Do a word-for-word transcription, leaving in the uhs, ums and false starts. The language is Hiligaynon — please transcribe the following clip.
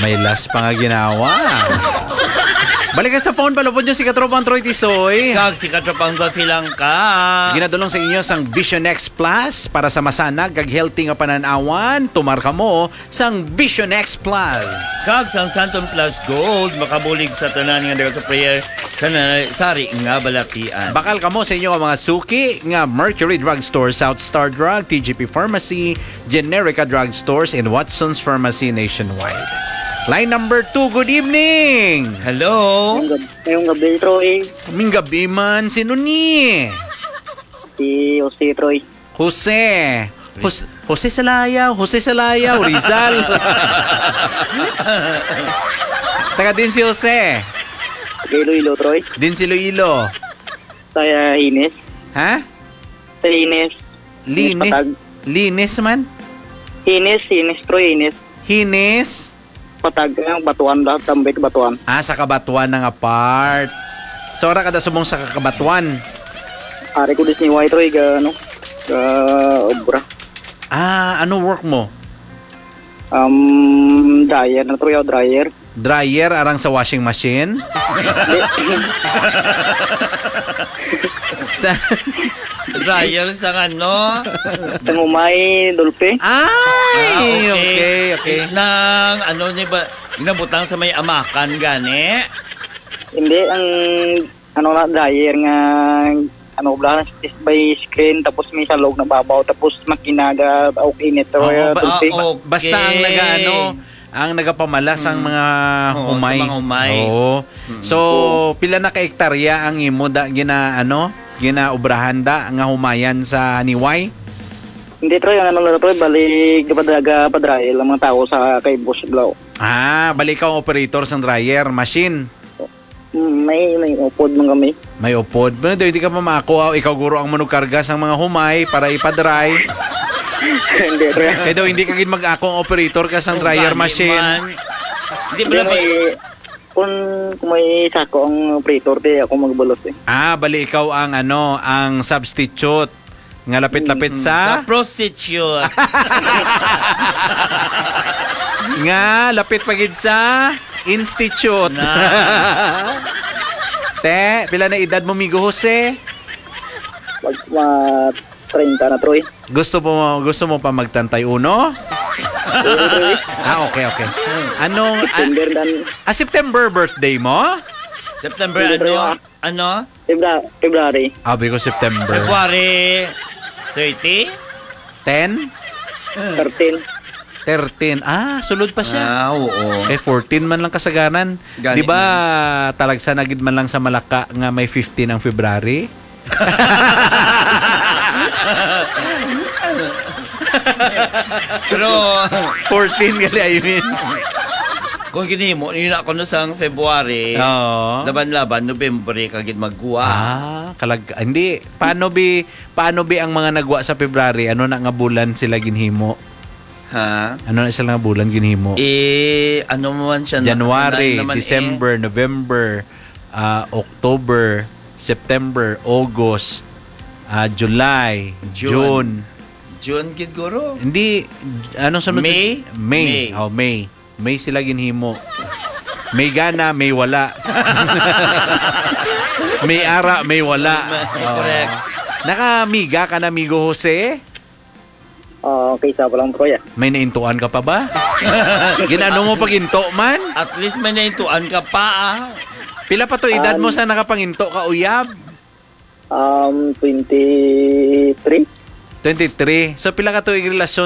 May last pa nga ginawa. Balik ka sa phone, palupod nyo si Katropang Troy Tisoy. Kag si Katropang Gosi lang ka. Ginadulong sa inyo sang Vision X Plus para sa masanag kag healthy nga panan-awan. Tumar kamo sang Vision X Plus. Kag sang Santon Plus Gold, makabulig sa tanan nga dagat sa prayer sa na-, sari nga balatian. Bakal kamo sa inyo nga mga suki nga Mercury Drugstore, South Star Drug, T G P Pharmacy, Generica Drugstores, and Watson's Pharmacy nationwide. Line number two, good evening! Hello? Ngayong gab-, ngayong gabi, Troy. Kaming gabi man, sino ni? Si Jose, Troy. Jose. Jose, Jose Salayaw, Jose Salayaw, Rizal. Taga din si Jose. Taga Iloilo, Troy. Din si Iloilo. Sa, ah, Hines. Ha? Sa Hines. Hines Lini-, Patag. Linis man? Hines, Hines, Troy, Hines. Hines? Patag, ang Batuan, lahat tambay ka Batuan. Ah, sa Kabatuan na nga part. So, ara kada subong sa Kabatuan? Ari ko dis ni White Roy, ga, ano, ga obra. Ah, ano work mo? Um, dryer na, Troy, oh, dryer. Dryer arang sa washing machine? Di. Sa Dryer sa ano? Sa Humay, Dolphy. Ay, Ah, okay. okay, okay. Nang ano ni ba, nabutang sa may amakan gani? Hindi, ang ano na, dryer nga, ano, bla, is by screen, tapos may salog na babaw, tapos makina ga, okay, init, Oo, Troy, ba, Dolphy. ah, okay. Basta ang nagaano, ang nagapamala sang Mm. mga Oo, sa humay. mga humay. Oo. Mm. So, Oo. pila na ka ektarya ang imo da, gina, ano, ginaobrahan da nga humayan sa Niway? Hindi, Troy, ang ano lang, Troy, bali, gapadraga, padrail ang mga tao sa kay Boss Blau. Ah, bali ikaw ang operator sang dryer machine. Mm, may, may upod man kami. May upod. Pero hindi ka pa maako, ah, ikaw guro ang manugkarga sang mga humay para ipadry. Hindi, Troy. Kaya daw hindi ka gid mag-ako ang operator ka sang Kung dryer gani machine. man. Di ba Hindi, na may, kung, kung may sako ang operator, di ako magbulos eh. Ah, bali ikaw ang ano, ang substitute nga lapit-lapit Mm. sa Sa prostitute. Nga lapit pa gid sa institute. Na. Te, pila na edad mo, Migo Jose? Mag, ma, treinta na, Troy. Gusto mo, gusto mo pa mag treinta y uno? Oo, Troy. Ah, okay, okay. Anong, ah, September dan ah, September birthday mo? September Hindi, ano? Troy, ah. Ano? Febra-, February. Abi ko September. February thirty? Ten? Thirteen. Thirteen. Ah, sulod pa siya. Ah, oo. Eh, fourteen man lang kasagaran. Gani Di ba, man. talagsa na gid man lang sa Malaka nga may fifteen ang February? Pero Fourteen gali, I mean. Kung ginhimo, yun ako no sang February, Oo. laban-laban, November, kagid magwa. Ah, kalag-, hindi. Paano bi, paano bi ang mga nagwa sa February? Ano na nga bulan sila ginhimo? Ha? Ano na sila nga bulan ginhimo? Eh, ano man siya na, January, sanay naman eh. December, November, ah, October, September, August, ah, July, June. June. June gid, guro. Hindi, anong sunod sa May? May. May. Oh, May. May sila ginhimo. May gana, may wala. May ara, may wala. May, Oh. correct. Nakamiga ka na, Migo Jose? Ah, okay, isa pa lang, Troy, ah. May naintuan ka pa ba? Ginano mo pag-into man? At least may naintuan ka pa, ah. Pila pa to edad mo Um, sa nakapanginto ka, uyab? Um, twenty-three. Twenty-three. So, pila ka tuig relasyon